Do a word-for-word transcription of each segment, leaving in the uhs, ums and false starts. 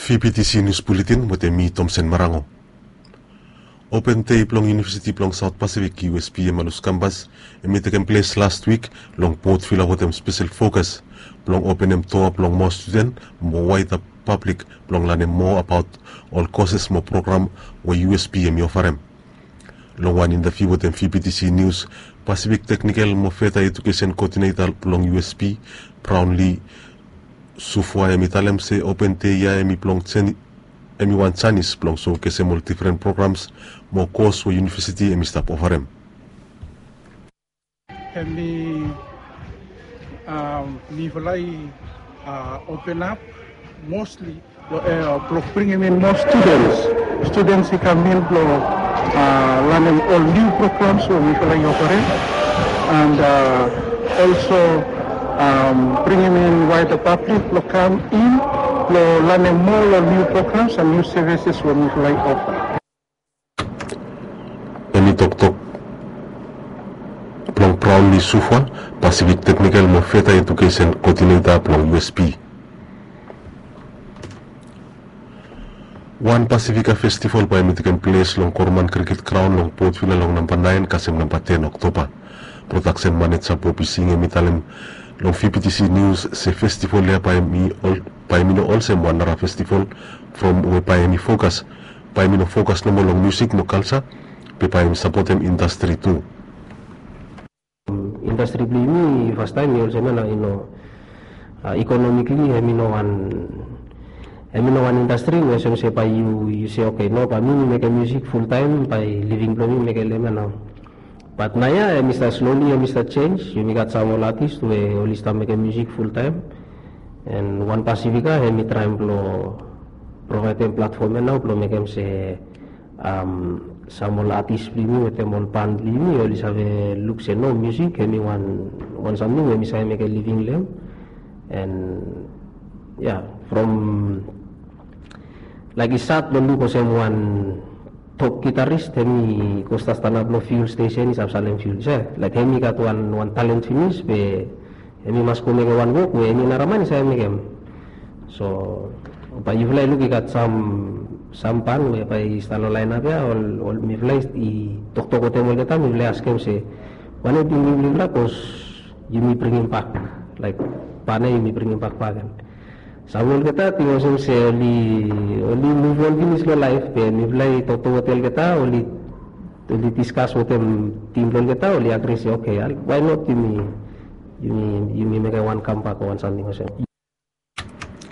V P T C News Bulletin wetem mi, Tomsen Marango. Open Day blong Yunivesiti blong Saot Pasifik, U S P, hem i lus kampas, hem i tekem ples last wik long Port Vila wetem spesel fokas blong openem doa blong moa studen mo waeda pablik blong lanem moa abaot ol koses mo program we U S P hem i ofarem. Long wan intaviu wetem V P T C News, Pasifik Teknikel mo Feta Edukesen Koodineta blong U S P, Brownlee Sufwa, hem i talem se Open Day ya hem i blong sen- hem i wan janis blong sowkesem ol difren programs mo kos we yunivesiti hem i stap ofarem. Hem i, um, mifala i, uh, open up mostly blong, uh, blong bringim in more students. Students i kam in blong, uh, lanem ol niu programs we mifala i ofarem, and, uh, also, um, bringim in wider public blong kam in blong lanem moa ol niu programs and niu services we mifala i ofa. Hem i toktok blong Brownlee Sufwa, Pasifik Teknikel mo Feta Edukesen Koodineta blong U S P. Wan Pasifika Festival bae hem i tekem ples long Koroman Cricket Ground long Port Vila long namba naen kasem namba ten Oktoba. Prodaksen maneja Bobby Singh hem i talem long V P T C News se festival ya bae hem i ol- bae hem i no olsem wan nara festival from we bae hem i fokas, bae hem i no fokas nomo long musik mo kalja, be bae hem i sapotem indastri tu. Indastri blong yumi fastaem i olsem ya nao, yu no, uh, economically hem i no wan, hem i no wan indastri we olsem se bae yu, yu se, "Oke, no, bae mi mekem musik fultaem, bae living blong mi mekem lem ya nao." Bat naoia hem i stap slowly hem i stap jenis. Yumi gat sam ol atis we oli stap mekem musik fultaem. And One Pacifica hem i traem blong provaedem platfom ya nao blong mekem se, um, sam ol atis blong yumi wetem ol ban blong yumi oli save luk se no, musik hem i wan, wan samting we hem i save mekem living long hem. And ya, from, laik, i sad blong luk olsem wan top gitarist hem i go stap stanap long fuel stesen i stap salem fuel, se, laik, hem i gat wan, wan talen finis be hem i mas go mekem wan wok we eni nara man i save mekem. So bae yufala i luk i gat sam, sam ban we bae i stap long laenap ya, ol, ol mifala i toktok wetem olgeta, mifala i askem se, "Wanem tingting blong yufala, bikos yumi bringim bak, laik, ban ya yumi bringim bak bakegen." Sam olgeta ting olsem se oli, oli move on finis long laef, be mifala i toktok wetem olgeta, oli, oli diskas wetem tim blong olgeta, oli agri se, "Oke, why not yumi, yumi, yumi mekem wan kambak o wan samting olsem."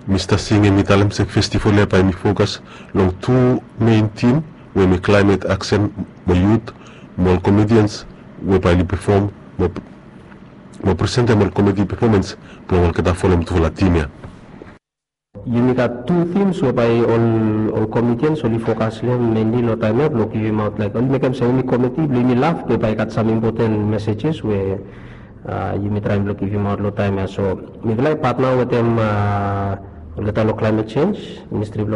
Mista Singh hem i talem se festival ya bae hem i fokas long tu mein tim we hem i climate action mo youth mo ol comedians we bae oli pefom mo, mo presentem ol comedy performance blong olgeta folem tufala tim ya. Yumi gat tu themes we bae ol, ol comedians oli fokas long hem mainly long taem ya blong givimaot, laik, oli mekem se yumi comedy blong yumi laf, be bae i gat sam impoten messages we, uh, yumi traem blong givimaot long taem ya. So mifala i patna wetem, uh, olgeta long climate change, ministri blong